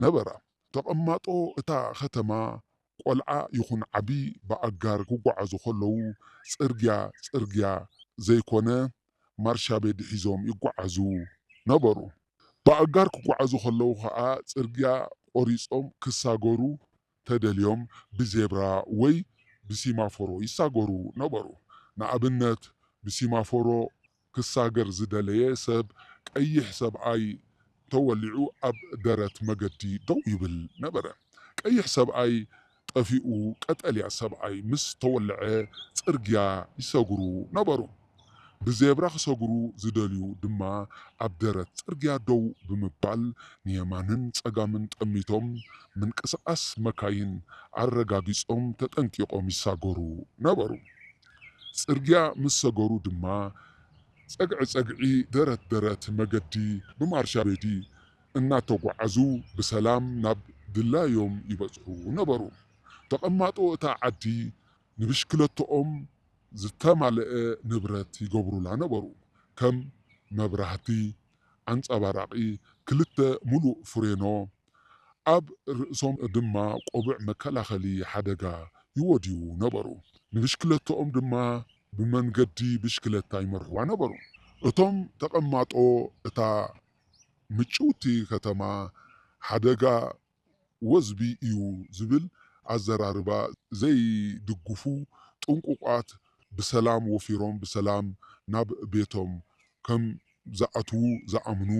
ነበራ። ተቐማጦ እታ ኸተማ፣ ቆልዓ ይኹን ዓቢ፣ ብኣጋር ክጓዓዙ ከለዉ፣ ጽርግያ ጽርግያ ዘይኮነ፣ ማርሻቤዲ ሒዞም ይጓዓዙ ነበሩ። ብኣጋር ክጓዓዙ ከለዉ ኸኣ፣ ጽርግያ ቖሪጾም ክሳገሩ ተደልዮም፣ ብዜብራ ወይ ብሲማፎሮ ይሳገሩ ነበሩ። ንኣብነት፣ ብሲማፎሮ ክሳገር ዝደለየ ሰብ፣ ቀይሕ ሰብኣይ ተወሊዑ ኣብ ደረት መገዲ ደው ይብል ነበረ። ቀይሕ ሰብኣይ ጠፊኡ፣ ቀጠልያ ሰብኣይ ምስ ተወልዐ፣ ጽርግያ ይሰግሩ ነበሩ። ብዜብራ ክሰግሩ ዝደልዩ ድማ፣ ኣብ ደረት ጽርግያ ደው ብምባል፣ ንየማንን ጸጋምን ጠሚቶም፣ ምንቅስቓስ መካይን ኣረጋጊጾም፣ ተጠንቂቖም ይሳገሩ ነበሩ። ጽርግያ ምስ ሰገሩ ድማ፣ ጸግዒ ጸግዒ፣ ደረት ደረት መገዲ ብማርሻ ቤዲ እናተጓዓዙ፣ ብሰላም ናብ ድላዮም ይበጽሑ ነበሩ። ተቐማጦ እታ ዓዲ፣ ንብሽክለቶኦም ዝተማልአ ንብረት ይገብሩላ ነበሩ። ከም መብራህቲ፣ ኣንጸባራቒ፣ ክልተ ምሉእ ፍሬኖ፣ ኣብ ርእሶም ድማ ቆቡዕ መከላኸሊ ሓደጋ ይወድዩ ነበሩ። ንብሽክለቶኦም ድማ ብመንገዲ ብሽክለታ ይመርሕዋ ነበሩ። እቶም ተቐማጦ እታ ምጭውቲ ከተማ፣ ሓደጋ ወዝቢ እዩ ዝብል ኣዘራርባ ዘይድግፉ፣ ጥንቁቓት፣ ብሰላም ወፊሮም ብሰላም ናብ ቤቶም ከም ዝኣትዉ ዝኣምኑ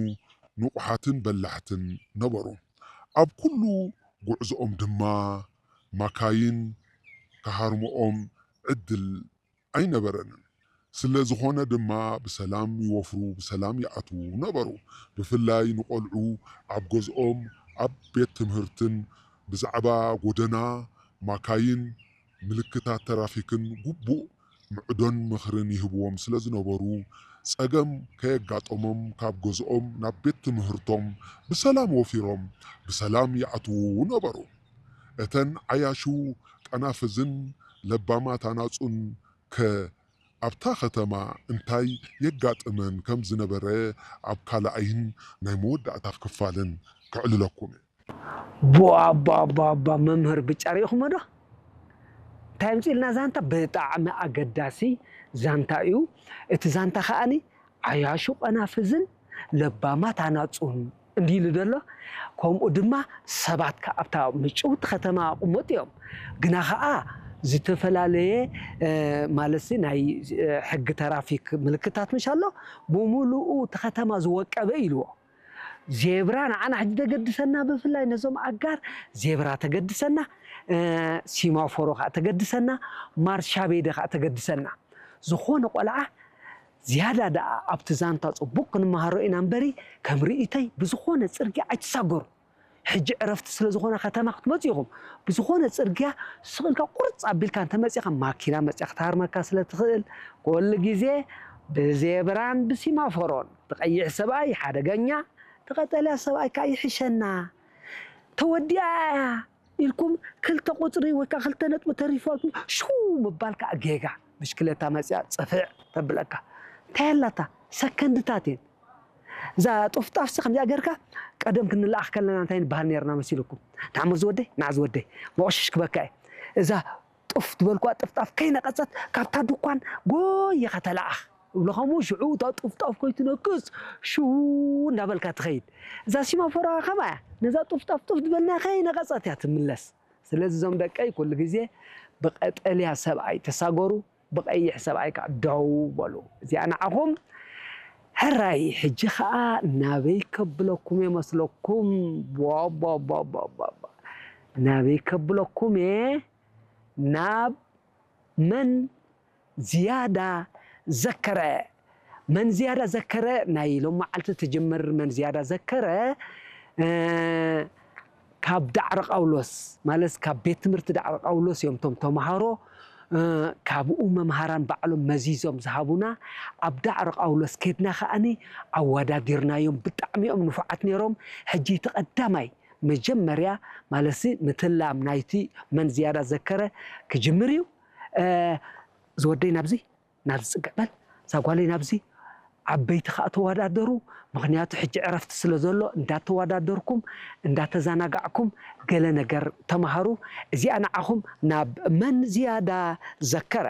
ንቑሓትን በላሕትን ነበሩ። ኣብ ኩሉ ጉዕዞኦም ድማ ማካይን ክሃርምኦም ዕድል ኣይነበረንን። ስለ ዝኾነ ድማ ብሰላም ይወፍሩ፣ ብሰላም ይኣትዉ ነበሩ። ብፍላይ ንቖልዑ ኣብ ገዝኦም፣ ኣብ ቤት ትምህርትን ብዛዕባ ጎደና፣ ማካይን፣ ምልክታት ተራፊክን ግቡእ ምዕዶን ምኽርን ይህብዎም ስለ ዝነበሩ፣ ጸገም ከየጋጠሞም ካብ ገዝኦም ናብ ቤት ትምህርቶም ብሰላም ወፊሮም ብሰላም ይኣትዉ ነበሩ። እተን ዓያሹ ቀናፍዝን ለባማት ኣናጹን ከ ኣብታ ከተማ እንታይ የጋጥመን ከም ዝነበረ ኣብ ካልኣይን ናይ መወዳእታ ክፋልን ከዕልለኩም እየ። ቧ ቧ ቧ ቧ መምህር ብጫ ርኢኹሞ ዶ? እንታይ ኣምጺእልና ዛንታ? ብጣዕሚ ኣገዳሲ ዛንታ እዩ። እቲ ዛንታ ከኣኒ ዓያሹ ቀናፍዝን ለባማት ኣናጹን እንዲሉ ዘሎ። ከምኡ ድማ ሰባት ከኣ ኣብታ ምጭውቲ ከተማ ቁመጥ እዮም። ግና ከኣ ዝተፈላለየ ማለትሲ ናይ ሕጊ ተራፊክ ምልክታት ምሽ ኣሎ፣ ብምሉኡ እቲ ከተማ ዝወቀበ ኢልዎ። ዜብራ ንዓና ሕጂ ተገድሰና፣ ብፍላይ ነዞም ኣጋር ዜብራ ተገድሰና፣ ሲማፎሮ ከዓ ተገድሰና፣ ማርሻቤደ ከዓ ተገድሰና። ዝኾነ ቆልዓ ዝያዳ ደኣ ኣብቲ ዛንታ ጽቡቕ ክንመሃሮ ኢና እምበሪ፣ ከም ርእይቶይ ብዝኾነ ጽርግያ ኣይትሳገሩ። ሕጂ ዕረፍቲ ስለ ዝኾነ ከተማ ክትመጹ ኢኹም። ብዝኾነ ጽርግያ ስቕ ኢልካ ቁርጽ ኣቢልካ እንተመጺኻ ማኪና መጺኣ ክትሃርመካ ስለ ትኽእል፣ ኩሉ ግዜ ብዜብራን ብሲማፎሮን፣ እቲ ቀይሕ ሰብኣይ ሓደገኛ፣ እቲ ቀጠልያ ሰብኣይ ከኣ ይሕሸና። ተወዲኣ እያ ኢልኩም ክልተ ቁጽሪ ወይ ከዓ ክልተ ነጥቢ ተሪፋልኩም ሽው ምባል ከዓ ጌጋ። ብሽክለታ መጺኣ ጽፍዕ ተብለካ። እንታይ ኣላታ? ሰከንድታት እየን። እዛ ጡፍጣፍሲ ከምዚኣ ጌርካ ቀደም ክንለኣኽ ከለና እንታይ ንበሃል ነርና መሲልኩም? ንዓሞ ዝወደይ፣ ንዓ ዝወደይ፣ መቆሸሽ ክበካ እየ። እዛ ጡፍ ዝበልኩዋ ጥፍጣፍ ከይነቐጸት ካብታ ድኳን ጎይኻ ተለኣኽ። እብሎ ከምኡ ሽዑ እታ ጡፍጣፍ ከይትነቅጽ ሽው እንዳበልካ ትኸይድ። እዛ ሲማፎራ ከማ እያ። ነዛ ጡፍጣፍ ጡፍ ዝበልና ከይነቐጸት እያ ትምለስ። ስለዚ እዞም ደቀይ ኩሉ ግዜ ብቀጠልያ ሰብኣይ ተሳገሩ፣ ብቐይሕ ሰብኣይ ከዓ ደው በሉ። እዚኣ ንዓኹም ሕራይ። ሕጂ ከዓ ናበይ ከብለኩም እየ መስለኩም? ቧ፣ ቧ፣ ቧ፣ ቧ፣ ቧ፣ ቧ። ናበይ ከብለኩም እየ? ናብ መን ዝያዳ ዘከረ? መን ዝያዳ ዘከረ? ናይ ሎም መዓልቲ ትጅምር መን ዝያዳ ዘከረ፣ እ፣ ካብ ዳዕሮ ቃውሎስ፣ ማለት ካብ ቤት ትምህርቲ ዳዕሮ ቃውሎስ እዮም እቶም ተምሃሮ፣ እ፣ ካብኡ መምሃራን ባዕሎም መዚዞም ዝሃቡና። ኣብ ዳዕሮ ቃውሎስ ኬድና ከኣኒ ኣወዳዲርናዮም። ብጣዕሚ እዮም ንፉዓት ነይሮም። ሕጂ እቲ ቀዳማይ መጀመርያ ማለትሲ ምትላም ናይቲ መን ዝያዳ ዘከረ ክጅምር እዩ። እ፣ ዝወደይ ናብዚ፣ ናብዚ ጽግዕ በል፣ እዛ ጓለይ ናብዚ፣ ዓበይቲ ከዓ ተወዳደሩ። ምክንያቱ ሕጂ ዕረፍቲ ስለ ዘሎ እንዳተወዳደርኩም እንዳተዘናጋዕኩም ገለ ነገር ተማሃሩ። እዚኣ ንዓኹም ናብ መን ዝያዳ ዘከረ።